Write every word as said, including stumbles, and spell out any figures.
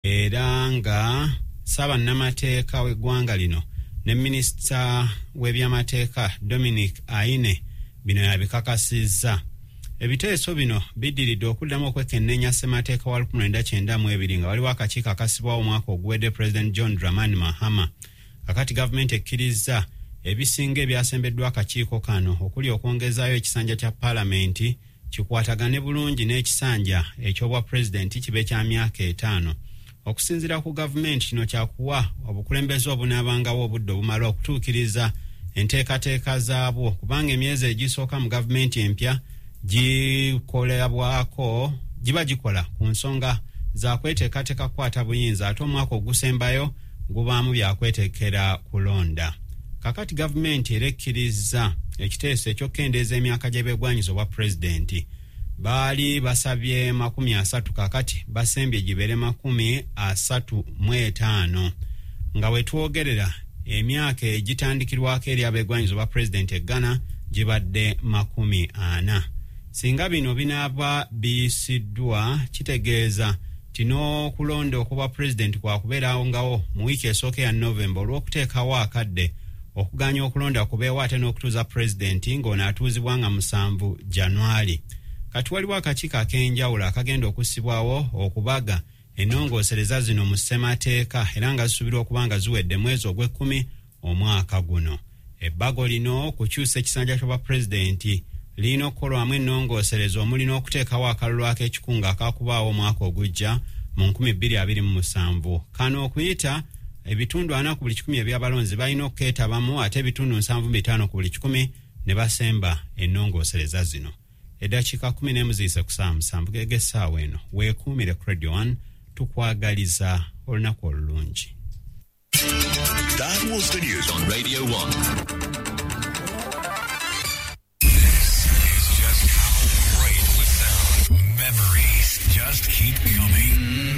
Era nga Ssaabannamateeka w'eggwanga lino ne minisita w'ebyamateeka Dominic Ayine bino yabikakasizza. Ebiteeso bino biddiridde okuddamu okwekenneenya ssemateeka wa lukumi lwenda kyenda mu ebiri nga waliwo akakiiko akasibwawo omwaka oguwedde President John Dramani Mahama. Kakati gavumenti ekkirizza ebisinga ebyasembeddwa akakiiko kano, okuli okwongezaayo ekisanja kya paalamenti kikwatagane bulungi n'ekisanja eky'obwa pulezidenti kibe kya myaka etaano. Okusinziira ku gavumenti, kino kyakuwa obukulembeze obunaabangawo obudde obumala okutuukiriza enteekateeka zaabwo, kubanga emyezi egisooka mu gavumenti empya gikolebwako giba gikola ku nsonga za kweteekateeka kukwata buyinza, ate omwaka ogusembayo gubaamu byakwetekera kulonda. Kakati gavumenti era ekkiriza ekiteeso eky'okukendeeza emyaka gy'ebyegwanyiza obwa pulezidenti. Baali basabye makumi asatu, kakati basembye gibeere makumi asatu mu etaano. Nga we twogerera, emyaka egitandikirwako eri abeegwanyiza obwa pulezidenti e Ghana gibadde makumi ana. Singa bino binaaba biyisiddwa, kitegeeza nti n'okulonda okubwa pulezidenti kwakubeerawo ngawo mu wiiki esooka eya Novemba, olw'okuteekawo akadde okuganya okulonda kubeewo ate n'okutuuza pulezidenti ng'ono atuuzibwa nga musanvu Januari. Kati waliwo akakiiko ak'enjawulo akagenda okussibwawo okubaga ennongoosereza zino mu ssemateeka, era nga zisuubirwa okuba nga ziwedde mwezi ogw'ekkumi omwaka guno. Ebbago lino okukyusa ekisanja ky'obwa pulezidenti lirina okukolwamu ennongoosereza, omuli n'okuteekawo akalulu ak'ekikungo akakubaawo omwaka ogujja mu nkumi bbiri abiri mu musanvu. Kano okuyita, ebitundu ana ku buli kikumi ebyabalonzi balina okukeetabamu, ate ebitundu nsanvu mu bitaano ku buli kikumi ne basemba ennongoosereza zino. Eddakiika kumi n'emu ziyise ku saawa musanvu geg'essaawa eno. Weekuumire ku Radio one, tukwagaliza olunaku olulungi. That was the news on Radio one. This is just how great we sound. Memories just keep